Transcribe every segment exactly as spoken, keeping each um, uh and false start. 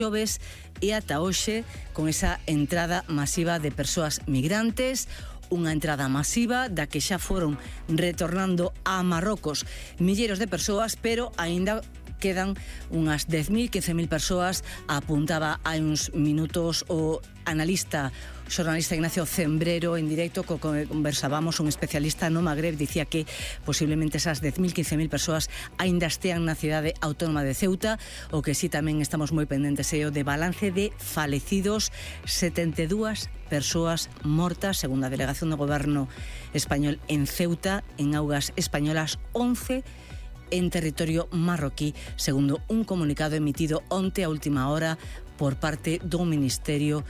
xoves e ata hoxe con esa entrada masiva de persoas migrantes, unha entrada masiva da que xa foron retornando a Marrocos milleiros de persoas, pero aínda quedan unhas dez mil, quince mil persoas. Apuntaba hai uns minutos o analista, xornalista Ignacio Cembrero en directo, co que conversábamos, un especialista no Magreb, dicía que posiblemente esas dez mil, quince mil persoas aínda estean na cidade autónoma de Ceuta. O que sí tamén estamos moi pendentes é o de balance de falecidos, setenta e dúas persoas mortas, segundo a delegación do goberno español en Ceuta, en augas españolas, once en territorio marroquí, segundo un comunicado emitido onte a última hora por parte do Ministerio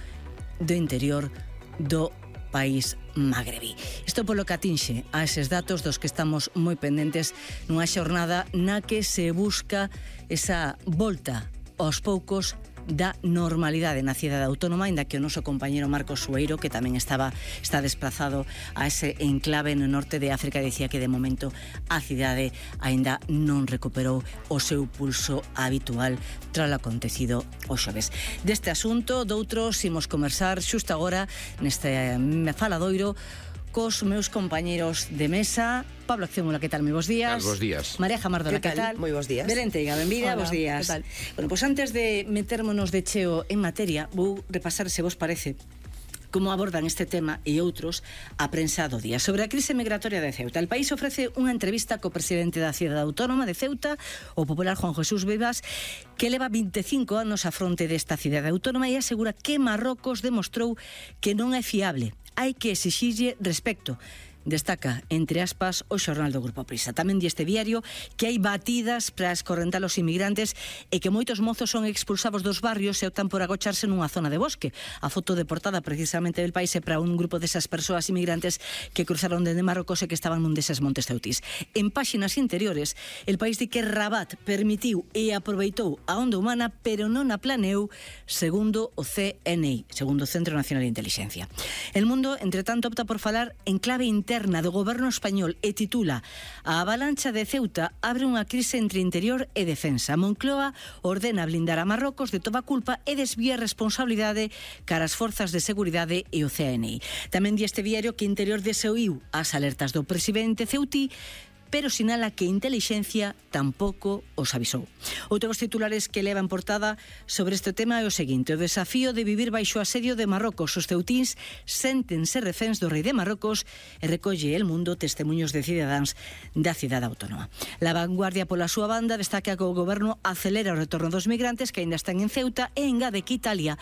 do Interior do país magrebí. Isto polo que atinxe a eses datos dos que estamos moi pendentes nunha xornada na que se busca esa volta aos poucos da normalidade na cidade autónoma, ainda que o noso compañeiro Marcos Sueiro, que tamén estaba está desplazado a ese enclave no norte de África, dicía que de momento a cidade aínda non recuperou o seu pulso habitual tras o acontecido o xoves. Deste asunto, doutros, imos conversar xusto agora neste faladoiro cos meus compañeros de mesa. Pablo Acciómula, que tal? Moi bons días. Bos días. María Jamardona, que tal? Moi bons días. Belén Teiga, benvida, bos días. Que tal? Bueno, pois pues antes de metérmonos de cheo en materia, vou repasar, se vos parece, como abordan este tema e outros a prensa do día. Sobre a crise migratoria de Ceuta, el país ofrece unha entrevista co presidente da cidade autónoma de Ceuta, o popular Juan Jesús Vivas, que leva vinte e cinco anos a fronte desta cidade autónoma e asegura que Marrocos demostrou que non é fiable. Hai que exixirlle respecto. Destaca, entre aspas, o xornal do Grupo Prisa. Tamén di este diario que hai batidas para escorrentar os inmigrantes e que moitos mozos son expulsados dos barrios e optan por agocharse nunha zona de bosque. A foto de portada precisamente del país é para un grupo desas persoas inmigrantes que cruzaron dende Marrocos e que estaban nun deses montes ceutís. En páxinas interiores, el país di que Rabat permitiu e aproveitou a onda humana, pero non a planeou, segundo o C N I, segundo o Centro Nacional de Inteligencia. El Mundo, entre tanto, opta por falar en clave interna interna do goberno español e titula: a avalancha de Ceuta abre unha crise entre interior e defensa. Moncloa ordena blindar a Marrocos de toda culpa e desvía responsabilidade cara as forzas de seguridade e o C N I. Tamén di este diario que Interior desoíu as alertas do presidente ceutí, pero sinala que Intelixencia tampouco os avisou. Outros titulares que leva en portada sobre este tema é o seguinte: o desafío de vivir baixo asedio de Marrocos. Os ceutíns séntense reféns do rei de Marrocos e recolle El Mundo testemunhos de cidadáns da cidade autónoma. La Vanguardia, pola súa banda, destaca que o goberno acelera o retorno dos migrantes que aínda están en Ceuta e engade que Italia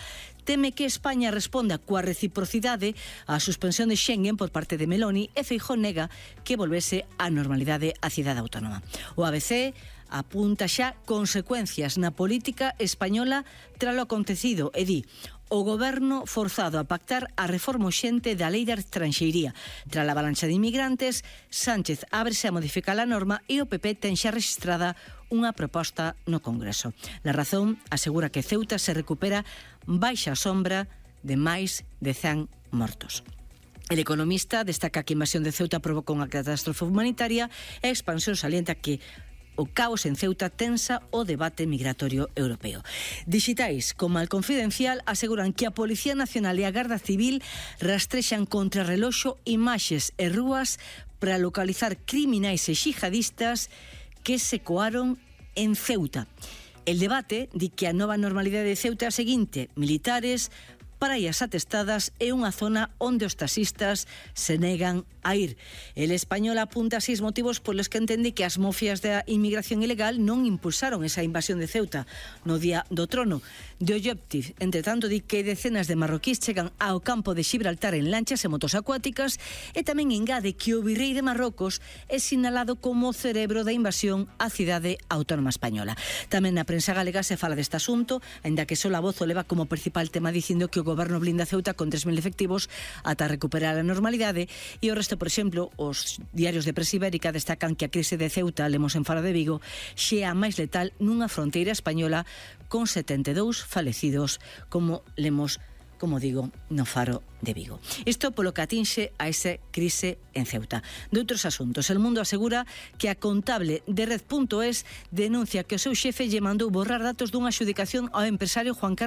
teme que España responda coa reciprocidade á suspensión de Schengen por parte de Meloni e Feijóo nega que volvese á normalidade a cidade autónoma. O A B C apunta xa consecuencias na política española tralo acontecido e di: o goberno forzado a pactar a reforma urxente da lei de estranxeiría. Tras a avalancha de inmigrantes, Sánchez ábrese a modificar a norma e o P P ten xa registrada unha proposta no Congreso. La Razón asegura que Ceuta se recupera baixa a sombra de máis de cen mortos. El Economista destaca que a invasión de Ceuta provoca unha catástrofe humanitaria e a expansión salienta que o caos en Ceuta tensa o debate migratorio europeo. Digitais como El Confidencial aseguran que a Policía Nacional e a Garda Civil rastrexan contra reloxo imaxes e rúas para localizar criminais e xihadistas que se coaron en Ceuta. El Debate di que a nova normalidade de Ceuta é a seguinte: militares, praias atestadas e unha zona onde os taxistas se negan a ir. El Español apunta seis motivos polos que entende que as mofias da inmigración ilegal non impulsaron esa invasión de Ceuta no día do trono. De Objective, entre tanto, di que decenas de marroquíes chegan ao campo de Gibraltar en lanchas e motos acuáticas e tamén engade que o virrei de Marrocos é sinalado como o cerebro da invasión á cidade autónoma española. Tamén na prensa galega se fala deste asunto, aínda que só a Voz o leva como principal tema dicindo que o goberno blinda Ceuta con tres mil efectivos ata recuperar a normalidade e o resto, por exemplo, os diarios de Presa Ibérica destacan que a crise de Ceuta, lemos en Faro de Vigo, xe a máis letal nunha fronteira española con setenta e dous falecidos, como lemos, como digo, no Faro de Vigo. Isto polo que atinxe a esa crise en Ceuta. De outros asuntos, El Mundo asegura que a contable de Red punto es denuncia que o seu xefe lle mandou borrar datos dunha adxudicación ao empresario Juan Carlos